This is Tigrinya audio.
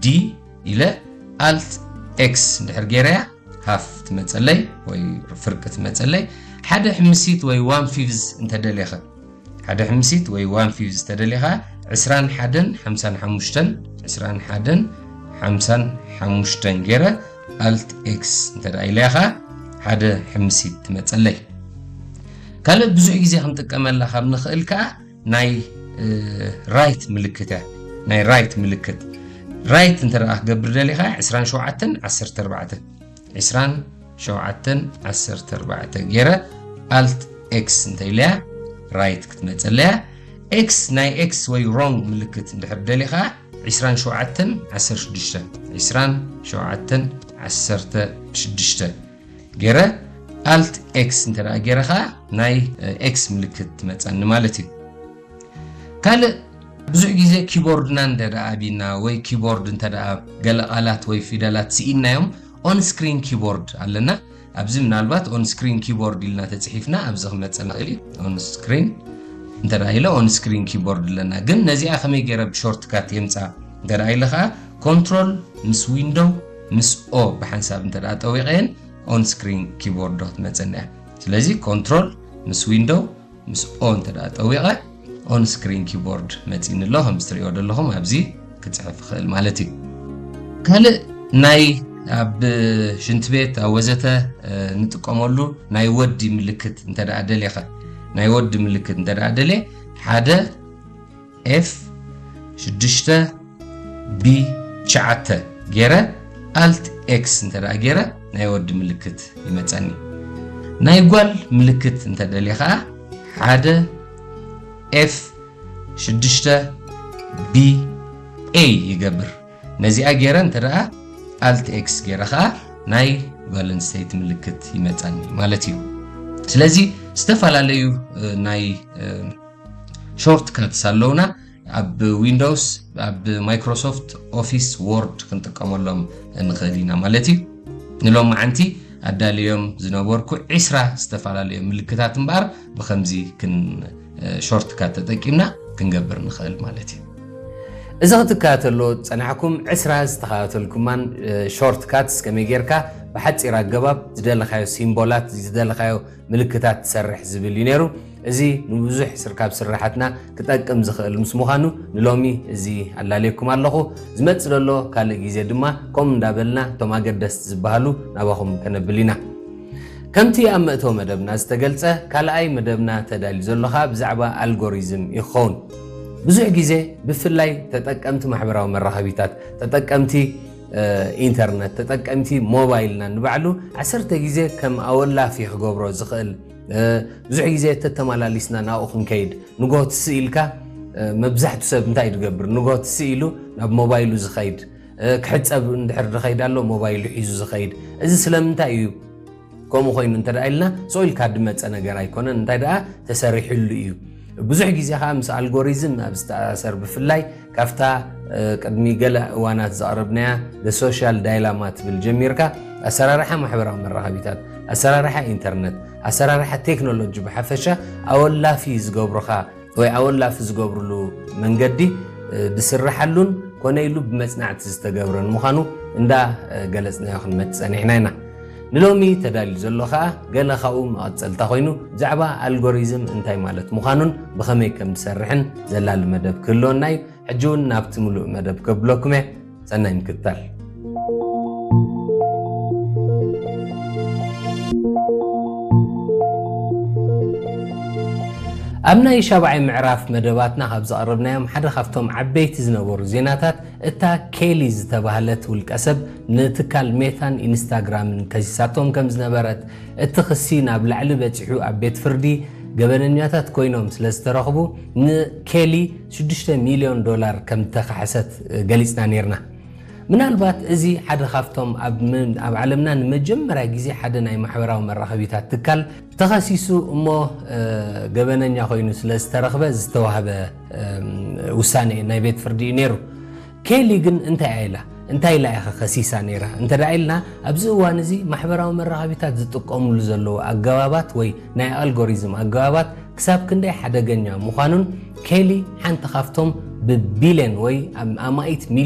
D ኢለ Alt X እንድሕር ገይረያ ሃፍ ትመፀለይ ወይ ፍርቂ ትመፀለይ። ሓደ ሕምሲት ወይ ዋን ፊፍዝ እንተደሊኸ ሓደ ሕምሲት ወይ ዋን ፊፍዝ ተደሊኻ ዕስራን ሓደን ሓምሳን ሓሙሽተን ዕስራን ሓደን ሓምሳን ሓሙሽተን ገይረ Alt X እንተ ደኣ ኢለያ ኸዓ ሓደ ሕምሲት ትመፀለይ። ካልእ ብዙሕ ግዜ ክንጥቀመላ ካብ ንኽእል ከዓ ናይ ራይት ምልክት እያ። ናይ ራይት ምልክት ራይት እንተ ደኣ ክገብር ደሊኻ ዕስራን ሸውዓተን ዓሰርተ ኣርባዕተ ዕስራን ሸውዓተን ዓሰርተ ኣርባዕተ ገይረ Alt X እንተ ኢለያ ራይት ክትመፀለያ። ኤክስ ናይ ኤክስ ወይ ሮንግ ምልክት እንድሕር ደሊኻ ዕስራን ሸውዓተን ዓሰርተ ሽዱሽተ ዕስራን ሸውዓተን ዓሰርተ ሽዱሽተ ገይረ Alt X እንተ ደኣ ገይረ ኸዓ ናይ ኤክስ ምልክት ትመፀኒ ማለት እዩ። ካልእ ብዙሕ ግዜ ኪቦርድና እንተ ደኣ ኣቢና ወይ ኪቦርድ እንተ ደኣ ገለ ቃላት ወይ ፊደላት ስኢንናዮም ኦን ስክሪን ኪቦርድ ኣለና። ኣብዚ ምናልባት ኦን ስክሪን ኪቦርድ ኢልና ተፅሒፍና ኣብዚ ክመፀና ይኽእል እዩ። ኦን ስክሪን እንተ ደኣ ኢለ ኦን ስክሪን ኪቦርድ ኣለና። ግን ነዚኣ ከመይ ገይረ ብሾርትካት የምፃ እንተ ደኣ ኢለ ኸዓ ኮንትሮል ምስ ዊንዶው ምስ ኦ ብሓንሳብ እንተ ደኣ ጠዊቐየን ኦን ስክሪን ኪቦርድ ዶ ክትመፀና እያ። ስለዚ ኮንትሮል ምስ ዊንዶው ምስ ኦ እንተ ደኣ ጠዊቐ ኦን ስክሪን ኪቦርድ መፂኒ ኣሎ። ከም እትሪኦ ዘለኹም ኣብዚ ክፅሕፍ ይኽእል ማለት እዩ። ካልእ ናይ ኣብ ሽንቲ ቤት ኣብ ወዘተ እ፣ ንጥቀመሉ ናይ ወዲ ምልክት እንተ ደኣ ደሊኻ ናይ ወዲ ምልክት እንተ ደኣ ደልየ ሓደ ኤፍ ሽዱሽተ ቢ ትሽዓተ ገይረ Alt X እንተ ደኣ ገይረ ናይ ወዲ ምልክት ይመፀኒ። ናይ ጓል ምልክት እንተ ደልየ ኸዓ ሓደ ኤፍ ሽዱሽተ ቢ ኤ ይገብር። ነዚኣ ገይረ እንተ ደኣ Alt X ገይረ ኸዓ ናይ ጓል ኣንስተይቲ ምልክት ይመፀኒ ማለት እዩ። ስለዚ ዝተፈላለዩ እ፣ ናይ እ፣ ሾርት ካትስ ኣለውና። ኣብ ዊንዶውስ ኣብ ማይክሮሶፍት ኦፊስ ወርድ ክንጥቀመሎም ንኽእል ኢና ማለት እዩ። ንሎማዓንቲ ኣዳልዮም ዝነበርኩ ዕስራ ዝተፈላለዩ ምልክታት እምበኣር ብኸምዚ ክን ሾርት ካት ተጠቂምና ክንገብር ንኽእል ማለት እዩ። እዚ ክትከታተሎ ዝጸናሕኩም ዕስራ ዝተኸታተልኩማን ሾርት ካትስ ከመይ ጌርካ ብሓጺር ኣገባብ ዝደለኻዮ ሲምቦላት ዝደለኻዮ ምልክታት ትሰርሕ ዝብል እዩ ነይሩ። እዚ ንብዙሕ ስር ካብ ስራሓትና ክጠቅም ዝኽእል ምስ ምዃኑ ንሎሚ እዚ ኣላለየኩም ኣለኹ። ዝመጽእ ዘሎ ካልእ ግዜ ድማ ከምኡ እንዳበልና እቶም ኣገደስቲ ዝበሃሉ ናባኹም ከነብል ኢና። ከምቲ ኣብ መእተዊ መደብና ዝተገልጸ ካልኣይ መደብና ተዳልዩ ዘሎ ኸኣ ብዛዕባ ኣልጎሪዝም ይኸውን። ብዙሕ ግዜ ብፍላይ ተጠቀምቲ ማሕበራዊ መራኸቢታት ተጠቀምቲ ኢንተርነት ተጠቀምቲ ሞባይልና ንባዕሉ ዓሰርተ ግዜ ከም ኣወላፊ ክገብሮ ዝኽእል ብዙሕ ግዜ ተተመላሊስና ናብኡ ክንከይድ ንጎ ትስእ ኢልካ መብዛሕቱ ሰብ እንታይ ዝገብር ንጎ ትስእ ኢሉ ናብ ሞባይሉ ዝኸይድ ክሕፀብ እንድሕር ዝኸይድ ኣሎ ሞባይሉ ሒዙ ዝኸይድ እዚ ስለምንታይ እዩ ከምኡ ኮይኑ እንተ ኢልና ስቕ ኢልካ ዝመፀ ነገር ኣይኮነን እንታይ ደኣ ተሰሪሕሉ እዩ ብዙሕ ግዜ ከዓ ምስ ኣልጎሪዝም ኣብ ዝተኣሳሰር ብፍላይ ካብታ ቅድሚ ገለ እዋናት ዘቕረብናያ social dilemma ትብል ጀሚርካ ኣሰራርሓ ማሕበራዊ መራኸቢታት ኣሰራርሓ ኢንተርነት ኣሰራርሓ ቴክኖሎጂ ብሓፈሻ ኣወላፊ ዝገብሩኻ ወይ ኣወላፊ ዝገብርሉ መንገዲ ዝስርሓሉን ኮነ ኢሉ ብመፅናዕቲ ዝተገብረን ምዃኑ እንዳ ገለፅናዮ ክንመፅ ፀኒሕና ኢና ንሎሚ ተዳልዩ ዘሎ ከዓ ገለ ካብኡ መቐፀልታ ኮይኑ ብዛዕባ ኣልጎሪዝም እንታይ ማለት ምዃኑን ብኸመይ ከም ዝሰርሕን ዘላሊ መደብ ክህልወና እዩ ሕጂ እውን ናብቲ ምሉእ መደብ ከብለኩም እየ ሰናይ ምክትታል ኣብ ናይ ሻብዓይ ምዕራፍ መደባትና ካብ ዘቕረብናዮም ሓደ ካብቶም ዓበይቲ ዝነበሩ ዜናታት እታ ኬሊ ዝተባህለት ውልቀ ሰብ ንትካል ሜታን ኢንስታግራምን ከሲሳቶም ከም ዝነበረት እቲ ክሲ ናብ ላዕሊ በፂሑ ኣብ ቤት ፍርዲ ገበነኛታት ኮይኖም ስለ ዝተረኽቡ ንኬሊ ሽዱሽተ ሚልዮን ዶላር ከም ዝተኻሕሰት ገሊፅና ነይርና ምናልባት እዚ ሓደ ካብቶም ኣብ ዓለምና ንመጀመርያ ግዜ ሓደ ናይ ማሕበራዊ መራኸቢታት ትካል ተኸሲሱ እሞ ገበነኛ ኮይኑ ስለ ዝተረኽበ ዝተዋህበ ውሳኔ ናይ ቤት ፍርዲ እዩ ነይሩ። ኬሊ ግን እንታይ ኢላ እንታይ ኢላ ኢኻ ከሲሳ ነይራ እንተ ደኣ ኢልና ኣብዚ እዋን እዚ ማሕበራዊ መራኸቢታት ዝጥቀሙሉ ዘለዉ ኣገባባት ወይ ናይ ኣልጎሪዝም ኣገባባት ክሳብ ክንደይ ሓደገኛ ምዃኑን ኬሊ ሓንቲ ካብቶም ብቢልዮን ወይ ኣማኢት